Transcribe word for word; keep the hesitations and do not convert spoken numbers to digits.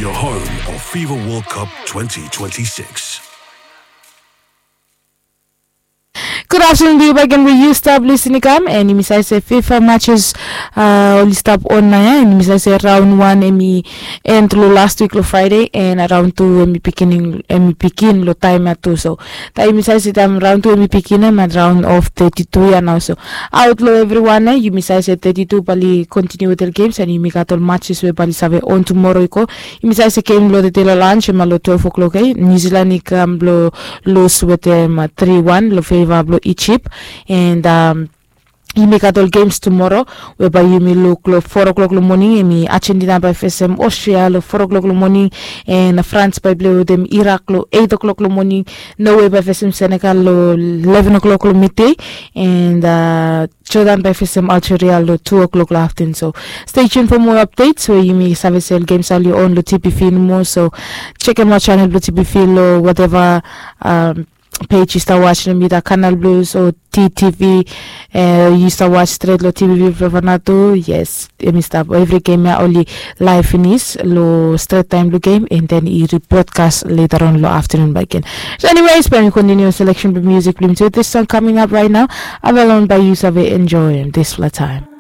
Your home of FIFA World Cup twenty twenty-six. Good afternoon to you back and we you stop listening come and yumi save se FIFA matches uh, oli stop on na ya and yumi save se round one emi end lo last week lo Friday and round two emi beginning emi begin lo time ya tu so taim yumi save se taim round two emi begin em at round of thirty-two ya now so out lo everyone eh yumi save se thirty-two bali continue with the games and yumi gat ol matches we bali save on tomorrow i go yumi save se game lo the day lo lunch ema lo twelve o'clock eh New Zealand i kam blo lose with them uh, three one lo favor blo Egypt and um, yumi gat ol games tomorrow we bai yumi luk lo four o'clock lo morning emi Argentina bai fesem Austria lo four o'clock lo morning and France bai play with them Iraq lo eight o'clock lo morning Norway bai fesem Senegal lo eleven o'clock lo midday and uh, Jordan bai fesem Algeria lo two o'clock lo afternoon so stay tuned for more updates we yumi save se ol games oli on lo T P V nomo so check em out channel blo T P V lo whatever um, page yu stap watch lo mi da Canal Plus o T T V uh, yu stap watch stret lo T V V Flavanatu yes emi stap evri game ya oli live finis lo stret taim lo game and then i rebroadcast later on lo afternoon back again so anyways bai mi continue selection blo music blo mi tu this song coming up right now avalon bai yu save enjoy this fla time